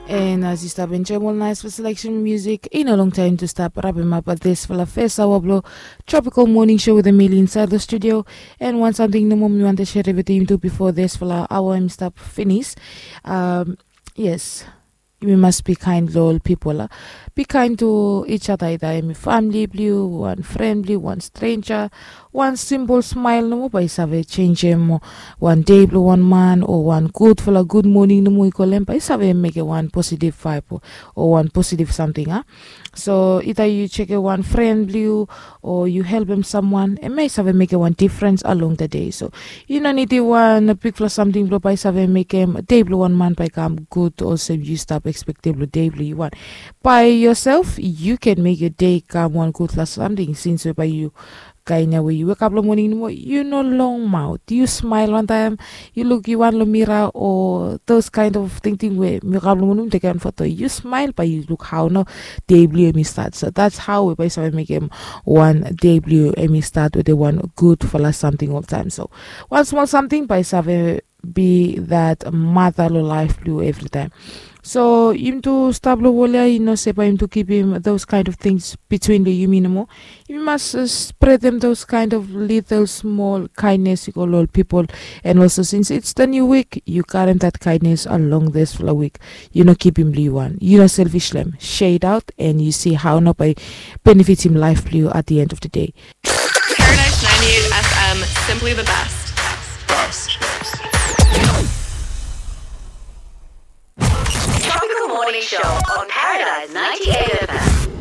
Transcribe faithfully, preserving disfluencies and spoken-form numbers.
And as yu stap enjoim ol naispela seleksen musik, i no longtaim tu stap rapimap disfala fes aoa blong Tropical Morning Show with Emily inside the studio. And wan samting nomo mi wante sere wetem yumi tu bifo disfala aoa em stap finis. Um, yes, yumi mas be kind long ol pipol a. Be kind to each other, either em i famili blong yu, wan fren blong yu, wan strenja. Wan simpol smael nomo bae i save senjem wan dei blong wan man, o wan gudfala gud moning nomo i kolem bae i save mekem wan positiv vaeb o wan positiv samting a. So ita yu sekem wan fren blong yu, o yu helpem samwan, em ya i save mekem wan difrens along the day. So yu no nidim wan bigfala samting blong bae i save mekem dei blong wan man bae i kam gud olsem yu stap ekspektem long dei blong yu wan. By yourself you can make your day kam wan gudfala samting, since we bae yu kain ya we yu wekap long moning nomo yu no long maot, yu smael wantaim yu luk yu wan long mira, o those kind of tingting we mi wekap long moning mi tekem foto, yu smael bae yu luk hao nao dei blong yu em i stat. So that's how we bae yu save mekem wan dei blong yu em i stat wetem wan gudfala samting oltaim. So wan smol samting bae i save be that mata long laef blong yu evritaim. So yumi tu stap long wol ya, yu no se bae yumi tu kipim those kind of things between long yumi nomo. Yumi mas uh, spretem those kind of little small kindness i go long ol pipol. And also since it's the new week, yu karem that kindness along disfala week. Yu no kipim long yu wan, yu no selfish long em, share it out and yu si hao nao bae benefitim laef blong yu at the end of the day. Paradise ninety-eight F M, simply the best. Tropical Morning Show on Paradise ninety-eight F M.